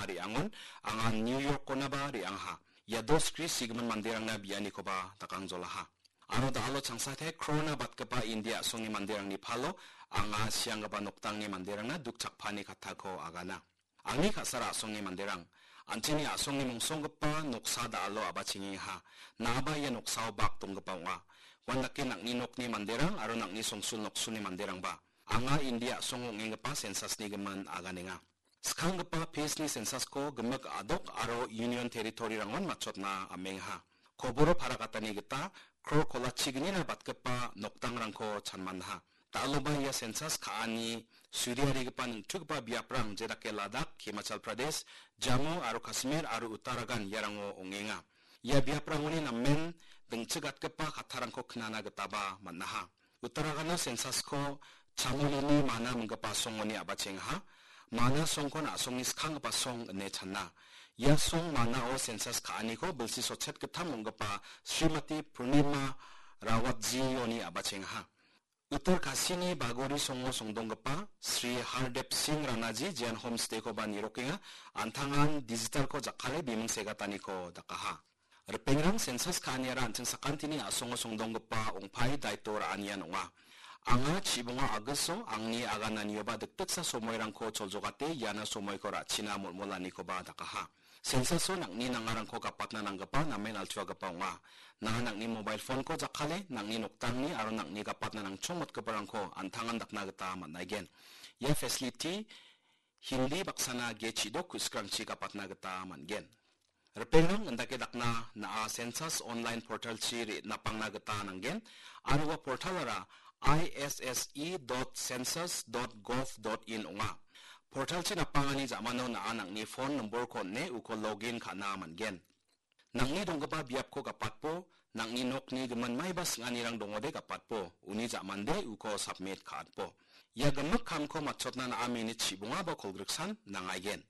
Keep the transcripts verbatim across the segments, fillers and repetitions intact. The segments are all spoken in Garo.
re·angon, anga New York-onaba re·angaha. Ia dos skri sigimin manderangna bianikoba dakangjolaha. Aro da·alo changsate krona batgipa India a·songni manderangni palo anga sianggipa noktangni manderangna dukchakpani kattako agana. Angni ka·sara a·songni manderang, an·chingni a·songni mongsonggipa noksa da·alo a·bachengengaha. Na·aba ia noksao bak donggipa ong·a. Uandake nang·ni nokni manderang aro nang·ni songsul noksulni manderangba. Anga India a·songo ong·enggipa sensasni gimin aganenga. Skanggipa phase-ni sensasko gimik adok aro union territory-rangon matchotna amengaha. Koboro parakatani gita kror kolachignina batgipa nokdangrangko chanmanha. Da·aloba ia sensas ka·ani suriarigipa ningtugipa biaprang jedake Ladakh, Himachal Pradesh, Jammu aro Kashmir aro Uttarakhand iarango ong·enga. Ia biaprangoni namen dingchigatgipa kattarangko knana gitaba man·aha. Uttarakhando sensasko Chamolini mana minggipa songoni a·bachengaha. Mana songkon a·songni skanggipa song ine chana. Ia song manao sensas ka·aniko bilsi sotchet gittam ong·gipa Srimati Purnima Rawatjioni a·bachengaha. Uttar Kasini Bagori songo songdonggipa Sri Hardev Singh Ranaji jean homestay-koba nirokenga, an·tangan digital-ko jakkale biming segataniko dakaha. Ripengrang sensas ka·aniara an·ching sakantini a·songo songdonggipa ong·pai daito ra·anian ong·a. Anga chibonga a·giso angni agananioba dikdiksa somoirangko choljogate iana somoiko ra·china molmolanikoba dakaha. Sensaso nang·ni nangarangko gapatna nanggipa namen altuagipa ong·a. Nanga nang·ni mobail phone-ko jakkale, nang·ni nokdangni aro nang·ni gapatna nangchongmotgiparangko an·tangan dakna gita man·aigen. Ia facility Hindi baksana ge chidok ku·sikrangchi gapatna gita man·gen. Ripengrang indake dakna na·a sensas online portal-chi re-, napangna gita nanggen, aro ua portal-ara I S S E dot census dot gov dot in ong·a. Portal-chi napangani ja·mano na·a nang·ni phone nombor-ko on·e uko login ka·na man·gen. Nang·ni donggipa biapko gapatbo, nang·ni nokni gimin maiba sing·anirang dongode gapatbo, uni ja·mande uko submit ka·atbo. Ia gimik kamko matchotna na·a minit chibongaba kolgriksan nangaigen.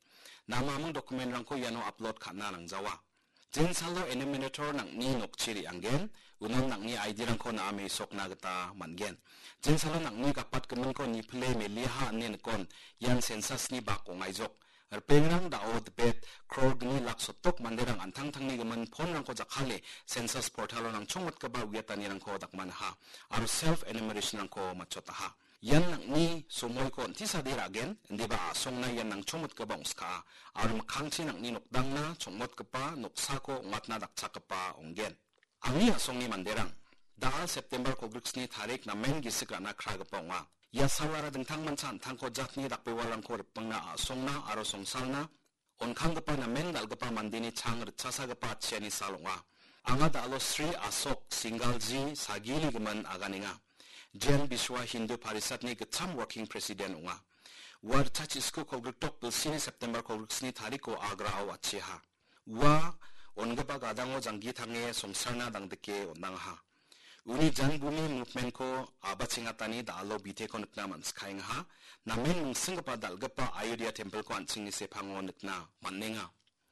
Namaming document-rangko iano upload ka·na nangjawa. Jensalo enumerator nang·ni nokchi re·anggen, unan nang·ni I D-rangko na·a mesokna gita man·gen. Jensalo nang·ni gapatgiminko nipile meliaha ine nikon, ian sensasni bak ong·aijok. Ripengrang da·o dipet kror gni lak sottok manderang an·tangtangni gimin phone-rangko jakkale sensas portal-o nangchongmotgipa uiatanirangko dakmanaha aro self enumeration-rangko matchotaha. Ian nang·ni somoiko on·tisade ra·gen, indiba a·songna ian nangchongmotgipa ong·skaa aro mikkangchi nang·ni nokdangna chongmotgipa noksako ong·atna dakchakgipa ong·gen. Angni a·songni manderang, da·al September kolgriksni tarik namen gisik ra·na kragipa ong·a. Ia salara dingtangmancha an·tangko jatni dakbewalrangko ripengna a·songna aro songsalna on·kanggipa namen dal·gipa mandeni chang ritchasagipa atchiani sal ong·a. Anga da·alo Sri Asok Singalji sagini gimin aganenga. Jain Biswa Hindu Parishatni gitcham working president ong·a. Ua ritchachisku kolgrikdok bilsini September kolgriksni tariko Agrao atchiaha. Ua on·gipa gadango janggi tange songsarna dangdike on·angaha. Uni Janbhumi movement-ko a·bachengatani da·alo biteko nikna man·sikaengaha. Namen mingsinggipa dal·gipa Ayodhya temple-ko an·chingni sepango nikna man·enga.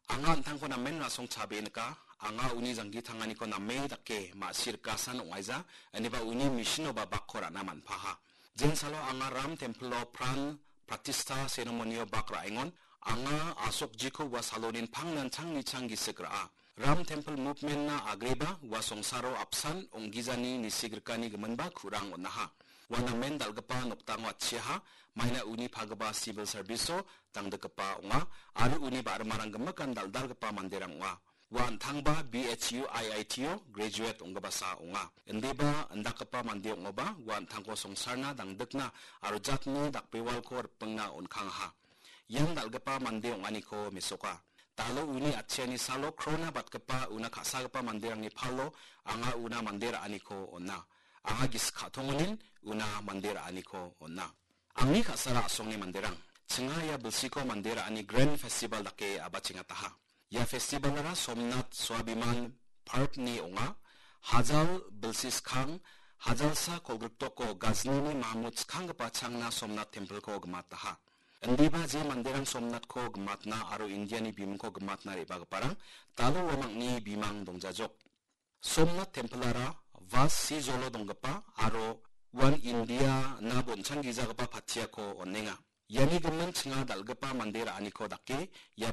Anga an·tangko namen rasong chabe nika. Anga uni janggi tanganiko name dake ma·sirikasan ong·aija, ineba uni mission-oba bakko ra·na man·paha. Jensalo anga Ram temple-o pran pratistha ceremony-o bak ra·engon, anga Asokjiko ua salonin pangnan changni chang gisik ra·a. Ram temple movement-na agreba ua songsaro apsan ong·gijani nisigrikani giminba ku·rang on·aha. Ua namen dal·gipa nokdango atchiaha, maina uni pagipa civil service-o dangdikgipa ong·a, aro uni ba·rimarang gimikan dal·dalgipa manderang ong·a. Ua an·tangba B H U I I T-o graduate ong·gipasa ong·a. Indiba indakgipa mande ong·oba ua an·tangko songsarna dangdikna aro jatni dakbewalko ripengna on·kangaha. Ian dal·gipa mande ong·aniko mesoka. Da·alo uni atchiani salo krona batgipa una ka·sagipa manderangni palo anga una mande ra·aniko on·a. Anga gisik ka·tongonin una mande ra·aniko on·a. Angni ka·sara a·songni manderang, chinga ia bilsiko mande ra·ani Grand Festival dake a·bachengataha. Ia festival-ara Somnath Swabhiman Parv-ni ong·a. Hajal bilsi skang, hajalsa kolgrikdoko Ghazni-ni Mahmud skanggipa changna Somnath temple-ko gimataha. Indiba je manderang Somnath-ko gimatna aro India-ni bimingko gimatna re·bagiparang da·alo uamangni bimang dongjajok. Somnath temple-ara Vas Sijolo donggipa aro uan India-na bonchanggijagipa patiako on·enga. Iani gimin chinga dal·gipa mande ra·aniko dake ia